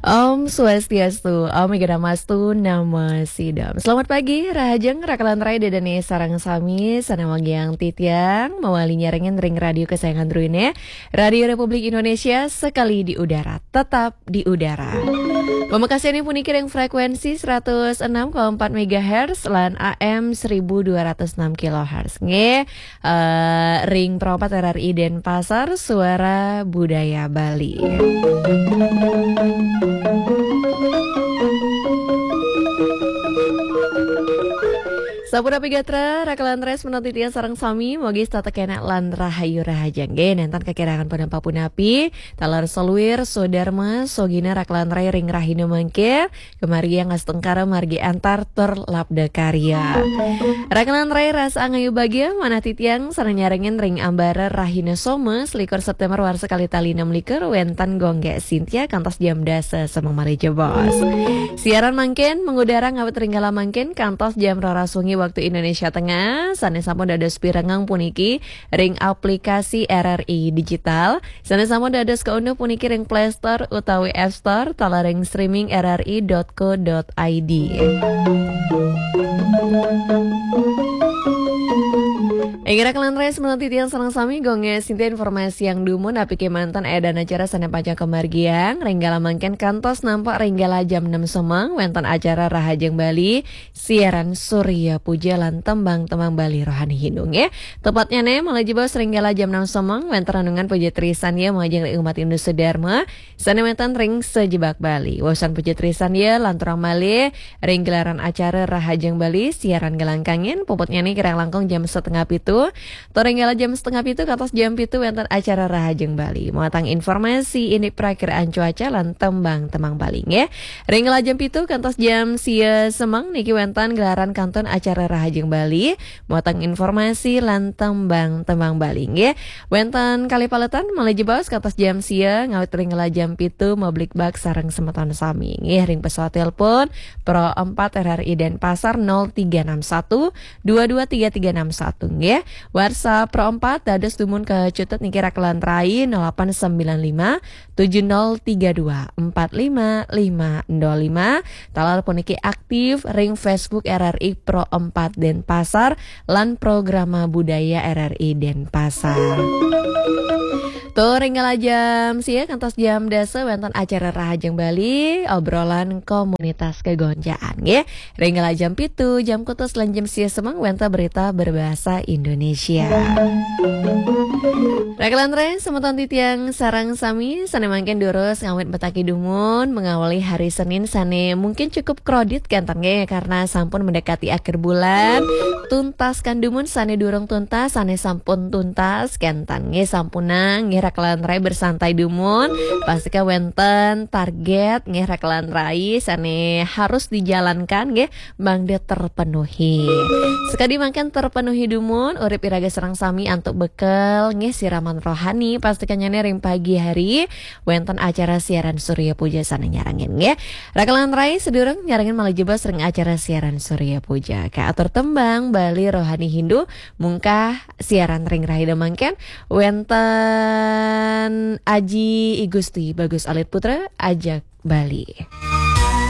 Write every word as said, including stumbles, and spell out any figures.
Om Swastiastu, Om Ega Namastu, Namo Sidam. Selamat pagi, Rahajeng, Rakalan Rai, Dedene, sareng sami, sane wangiang titiang, mawali nyarengin ring radio kesayangan druine, Radio Republik Indonesia, sekali di udara, tetap di udara. Pamekasane puniki ring frekuensi seratus enam koma empat megahertz lan A M seribu dua ratus enam kilohertz. Nggih, eh, ring Pro empat R R I Denpasar, Suara Budaya Bali. Sampun api gatra, Rakalan Rai, semeton titiang sareng sami, mugi setata kenak lan rahayu rahajeng. Nggih, nenten kakirangan pun ampun api, taler saluir, sodarma, sogina Rakalan Rai ring rahina mangke, kemargi astungkara margi antar tur labda karya. Rakalan Rai rasa angayu bagia, manah titiang sareng nyarengin ring ambara rahina Soma, selikur September warsa kalih tali enam likur, wenten Gung Gek Sintia kantos jam dasa semeng malih jebos. Siaran mangkin mengudara ngawit ring galah mangkin kantos jam roras wengi waktu Indonesia Tengah, sane sampun dados pirengang puniki ring aplikasi R R I Digital, sane sampun dados kaunduh puniki ring Play Store utawi App Store, taler ring streaming R R I dot co dot I D. Inggih Rakalan Rai, semeton titiang sareng sami, Gung Gek Sintia informasiang dumun, apike manten aedan acara sane pacang kamargiang, ring galah mangkin kantos nampak ring galah jam enam semeng, wenten acara Rahajeng Bali, siaran Surya Puja lan tembang-tembang Bali rohani Hindu, nggih. Tepatnyane malih jebos ring galah jam enam semeng, wenten renungan puja trisandya majeng ring umat Hindu sedarma, sane wenten ring sajebag Bali. Wusan puja trisandya lanturang malih ring gelaran acara Rahajeng Bali, siaran galah kangin, puputnyane kirang langkung jam setengah pitu. Tur ring galah jam setengah pitu kantos jam pitu wenten acara Rahajeng Bali. Muatang informasi indik prakiraan cuaca lan tembang-tembang Bali, nggih. Ring galah jam pitu kantos jam sia semeng niki wenten gelaran kantun acara Rahajeng Bali. Muatang informasi lan tembang-tembang Bali, nggih. Wenten kalih paletan malih jebos kantos jam sia, ngawit ring galah jam pitu mabligbagan sareng semeton sami, nggih, ring pesawat telepon Pro empat R R I Denpasar nol tiga enam satu dua dua tiga tiga enam satu, nggih. WhatsApp Pro empat dados dumun kacutut niki Rakalan Rai nol delapan sembilan lima tujuh nol tiga dua empat lima lima nol lima. Taler puniki aktif ring Facebook R R I Pro empat Denpasar lan Programa Budaya R R I Denpasar. Tur ring galah jam sia kantos jam dasa wenten acara Rahajeng Bali, obrolan komunitas kegonjaan, nggih. Ring galah jam pitu, jam kutus lan jam sia semeng wenten berita berbahasa Indonesia. Rakalan Rai, semeton titiang sareng sami, sane mangkin durus ngawit metaki dumun, mengawali hari Senin sane mungkin cukup krodit kenten, nggih, karena sampun mendekati akhir bulan. Tuntaskan dumun sane durung tuntas, sane sampun tuntas kenten, nggih, sampunang, nggih, Rakalan Rai, bersantai dumun. Pastika wenten target, nggih, Rakalan Rai, sane harus dijalankan, nggih, mangda terpenuhi. Sekadi mangkin terpenuhi dumun, urip iraga sareng sami antuk bekel, nggih, siraman rohani, pastikanyane ring pagi hari wenten acara siaran Surya Puja sane nyarengin, nggih. Rakalan Rai, sedurung nyarengin malih jebos ring acara siaran Surya Puja, kaatur tembang Bali rohani Hindu, mungkah siaran ring rahina mangkin wenten Aji I Gusti Bagus Alit Putra, Ajak Bali.